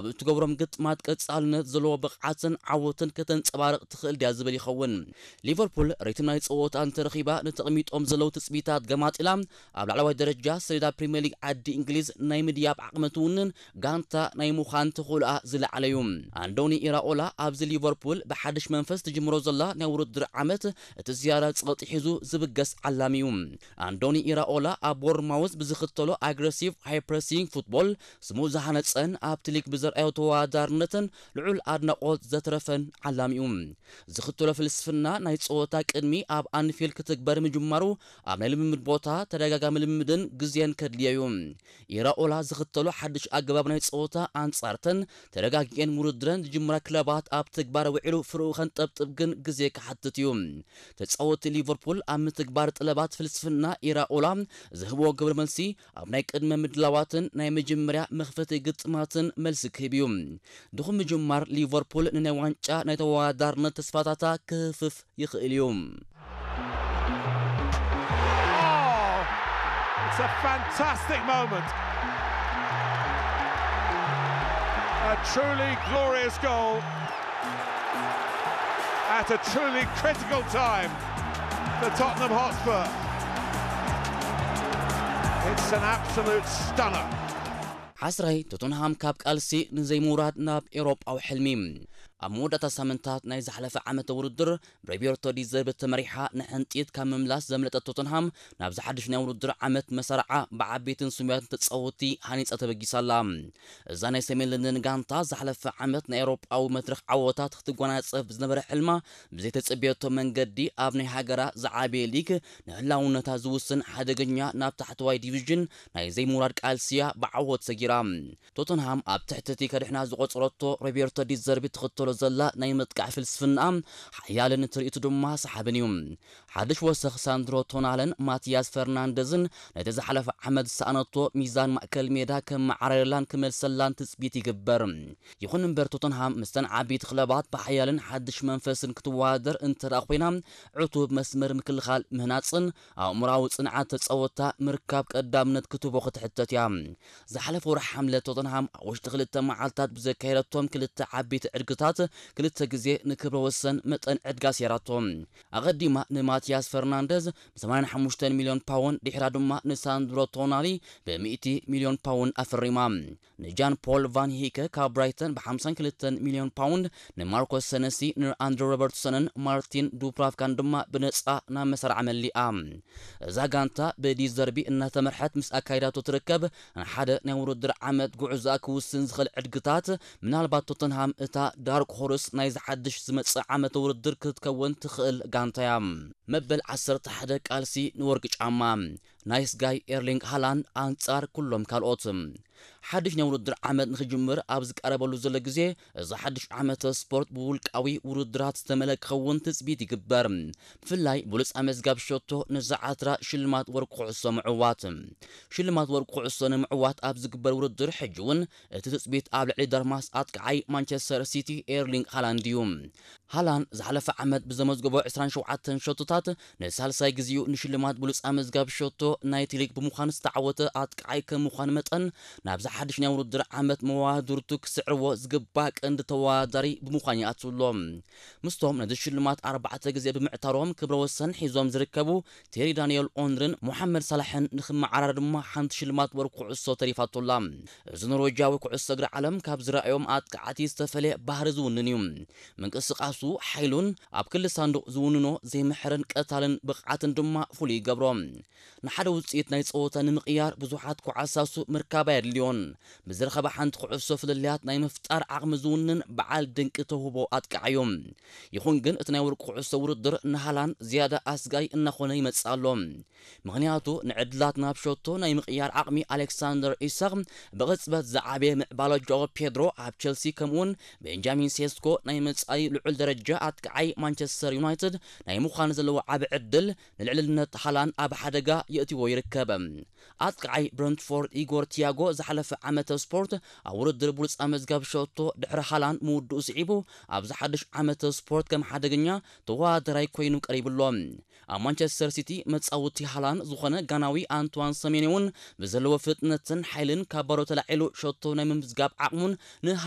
ኣብ እትገብሮም ግጥማት ቀጻልነት ዘለዎ ብቕዓትን ዓወትን ከተንጸባርቕ ትኽእል ድያ ዝብል ይኸውን። ሊቨርፑል ሪትም ናይ ጸወታ እንተረኺባ፣ ንተቐሚጦም ዘለዉ ትጽቢታት ገማጢላ ኣብ ላዕለዋይ ደረጃ ሰሌዳ ፕሪምየር ሊግ ዓዲ እንግሊዝ ናይ ምድያብ ዓቕሚ ትውንን ጋንታ ናይ ምዃን ተኽእሎኣ ዝለዓለ እዩ። ኣንዶኒ ኢራኦላ ኣብዚ ሊቨርፑል ብሓድሽ መንፈስ ትጅምሮ ዘላ ናይ ውድድር ዓመት፣ እቲ ዝያዳ ጸቕጢ ሒዙ ዝብገስ ዓላሚ እዩ። ኣንዶኒ ኢራኦላ ኣብ ቦርንማውዝ ብዝኽተሎ ኣግረሲቭ ሃይ ፕረሲንግ ፉትቦል ስሙ ዝሃነጸን ኣብቲ ሊግ ብዘርኣዮ ተወዳዳርነትን ልዑል ኣድናቖት ዘትረፈን ዓላሚ እዩ። ዝኽተሎ ፍልስፍና ናይ ጸወታ ቅድሚ ኣብ ኣንፊልድ ክትግበር ምጅማሩ፣ ኣብ ናይ ልምምድ ቦታ ተደጋጋሚ ልምምድን ግዜን ከድልዮ እዩ። ኢራኦላ ዝኽተሎ ሓድሽ ኣገባብ ናይ ጸወታ ኣንጻርተን ተረጋጊኤን ውድድረን ዝጅምራ ክለባት ኣብ ተግባር ውዒሉ ፍርኡ ከንጠብጥብ ግን ግዜ ክሓትት እዩ። ተጻወትቲ ሊቨርፑል ኣብ ምትግባር ጠለባት ፍልስፍና ኢራኦላ ዝህብዎ ግብረ መልሲ ኣብ ናይ ቅድመ ምድላዋትን ናይ መጀመርያ መኽፈቲ ግጥማትን መልሲ ክህብ እዩ። ድኹም ምጅማር ሊቨርፑል ንናይ ዋንጫ ናይ ተወዳዳርነት ተስፋታታ ክህፍፍ ይኽእል እዩ። Oh, it's a fantastic moment. A truly glorious goal at a truly critical time for Tottenham Hotspur. It's an absolute stunner. ዓስራይ ቶተንሃም ካብ ቃልሲ ንዘይምውራድ ናብ ኤውሮጳዊ ሕልሚ። ኣብ መወዳእታ ሳምንታት ናይ ዝሓለፈ ዓመተ ውድድር ብሮቤርቶ ዲዘርቢ ተመሪሓ ንሕንጢት ካብ ምምላስ ዘምለጠት ቶተንሃም፣ ናብዚ ሓድሽ ናይ ውድድር ዓመት መሳርዓ ብዓበይትን ስሙያትን ተጻወትቲ ሃኒጻ ተበጊሳ ኣላ። እዛ ናይ ሰሜን ለንደን ጋንታ ዝሓለፈ ዓመት ናይ ኤውሮጳዊ መድረኽ ዓወታት ክትጓናጸፍ ዝነበረ ሕልማ ብዘይተጸበየቶ መንገዲ ኣብ ናይ ሃገራ ዝዓበየ ሊግ ንህላውነታ ዝውስን ሓደገኛ ናብ ታሕተዋይ ዲቪዥን ናይ ዘይምውራድ ቃልሲያ ብዓወት ሰጊራ። ቶተንሃም ኣብ ትሕቲ እቲ ከድሕና ዝቖጸረቶ ሮቤርቶ ዲዘርቢ ትኽተሎ ዘላ ናይ ምጥቃዕ ፍልስፍና ሓያልን ትርኢቱ ድማ ሰሓብን እዩ። ሓድሽ ወሰኽ ሳንድሮ ቶናለን ማቲያስ ፈርናንደዝን ነቲ ዝሓለፈ ዓመት ዝሰኣነቶ ሚዛን ማእከል ሜዳ ከመዓራርየላን ክመልሰላን ትጽቢት ይግበር። ይኹን እምበር ቶተንሃም ምስተን ዓበይቲ ክለባት ብሓያልን ሓድሽ መንፈስን ክትወዳደር እንተ ደኣ ኮይና፣ ዕቱብ መስመር ምክልኻል ምህናጽን ኣእምሮኣዊ ጽንዓት ተጻወትታ ምርካብ ቀዳምነት ክትህቦ ክትሕተት እያ። ዝሓለፈ ወርሒ ሓምለ ቶተንሃም ኣብ ውሽጢ ክልተ መዓልታት ብዘካየደቶም ክልተ ዓበይቲ ዕድግታት ክልተ ግዜ ንክብረ ወሰን መጠን ዕድጋ ኣስያራቶ። ኣቐዲማ ንማቲያስ ፈርናንደዝ ብ ሰማንያን ሓሙሽተን ሚልዮን ፓውንድ፣ ድሕራ ድማ ንሳንድሮ ቶናሊ ብ ሚእቲ ሚልዮን ፓውንድ ኣፈሪማ። ንጃን ፖል ቫን ሂከ ካብ ብራይተን ብ ሓምሳን ክልተን ሚልዮን ፓውንድ፣ ንማርኮስ ሰነሲ፣ ንኣንድሮ ሮበርትሰንን ማርቲን ዱፕራፍካን ድማ ብነጻ ናብ መሳርዓ መሊኣ። እዛ ጋንታ ብዲዘርቢ እናተመርሐት ምስ ኣካይዳቶ ትርከብ፣ ንሓደ ናይ ውድድር ዓመት ጉዕዞኣ ክውስን ዝኽእል ዕድግታት፣ ምናልባት ቶተንሃም እታ ዳርክ ሆርስ ናይዚ ሓድሽ ዝመጽእ ዓመተ ውድድር ክትከውን ትኽእል ጋንታ እያ። መበል ዓሰርተ ሓደ ቃልሲ ንወርቂ ጫማ። ናይስ ጋይ ኤርሊንግ ሃላንድ ኣንጻር ኩሎም ካልኦት። ሓድሽ ናይ ውድድር ዓመት ንኽጅምር ኣብ ዝቀረበሉ ዘሎ ግዜ፣ እዚ ሓድሽ ዓመተ ስፖርት ብውልቃዊ ውድድራት ዝተመልአ ክኸውን ትጽቢት ይግበር። ብፍላይ ብሉጽ ኣመዝጋቢ ሸቶ ንዝዓትራ ሽልማት ወርቂ ኩዕሶ ምዕዋት። ሽልማት ወርቂ ኩዕሶ ንምዕዋት ኣብ ዝግበር ውድድር ሕጂ እውን እቲ ትጽቢት ኣብ ልዕሊ ደርማስ ኣጥቃዓይ ማንቸስተር ሲቲ ኤርሊንግ ሃላንድ እዩ። ሃላንድ ዝሓለፈ ዓመት ብዘመዝገቦ ዕስራን ሸውዓተን ሸቶታት ንሳልሳይ ግዜኡ ንሽልማት ብሉጽ ኣመዝጋቢ ሸቶ ናይቲ ሊግ ብምዃን ዝተዓወተ ኣጥቃዓይ ከም ምዃኑ መጠን፣ ናብዚ ሓድሽ ናይ ውድድር ዓመት መዋድርቱ ክስዕርዎ ዝግባእ ቀንዲ ተወዳዳሪ ብምዃን ይኣቱ ኣሎ። ምስቶም ነዚ ሽልማት ኣርባዕተ ግዜ ብምዕታሮም ክብረ ወሰን ሒዞም ዝርከቡ ቴሪ ዳንኤል ኦንሪን ሞሓመድ ሳላሕን ንኽመዓራረ ድማ ሓንቲ ሽልማት ወርቂ ኩዕሶ ተሪፋቶ ኣላ። እዚ ኖርዌጃዊ ኩዕሶ እግሪ ዓለም ካብ ዝረኣዮም ኣጥቃዕቲ ዝተፈለየ ባህሪ ዝውንን እዩ። ምንቅስቃሱ፣ ሓይሉን ኣብ ክሊ ሳንዱቕ ዝውንኖ ዘይምሕርን ቀታልን ብቕዓትን ድማ ፍሉይ ይገብሮ። ንሓደ ውጽኢት ናይ ጸወታ ንምቕያር ብዙሓት ኮዓሳሱ ምርካብ ኣየድልዮን። ብዝረኸባ ሓንቲ ኩዕሶ ፍልልያት ናይ ምፍጣር ዓቕሚ ዝውንን በዓል ድንቂ ተውህቦ ኣጥቃዓዮም። ይኹን ግን እቲ ናይ ወርቂ ኩዕሶ ውድድር ንሃላንድ ዝያዳ ኣስጋይ እናኾነ ይመጽእ ኣሎ። ምኽንያቱ ንዕድላት ናብ ሸቶ ናይ ምቕያር ዓቕሚ ኣሌክሳንደር ኢሳቕ ብቕጽበት ዝዓበየ ምዕባለ ጆኦ ፔድሮ ኣብ ቸልሲ ከምኡውን ቤንጃሚን ሴስኮ ናይ መጻኢ ልዑል ደረጃ ኣጥቃዓይ ማንቸስተር ዩናይትድ ናይ ምዃን ዘለዎ ዓቢ ዕድል ንልዕልነት ሃላንድ ኣብ ሓደጋ የእትዎ ይርከብ። ኣጥቃዓይ ብረንትፎርድ ኢጎር ቲያጎ ዝሓለፈ ዓመተ ስፖርት ኣብ ውድድር ብሉጽ ኣመዝጋቢ ሸቶ ድሕሪ ሃላንድ ምውድኡ ስዒቡ ኣብዚ ሓድሽ ዓመተ ስፖርት ከም ሓደገኛ ተወዳዳራይ ኮይኑ ቀሪቡ ኣሎ። ኣብ ማንቸስተር ሲቲ መጻወቲ ሃላንድ ዝኾነ ጋናዊ ኣንትዋን ሰሜንዮ እውን ብዘለዎ ፍጥነትን ሓይልን ካብ ባዶ ተላዒሉ ሸቶ ናይ ምምዝጋብ ዓቕሙን ንሃ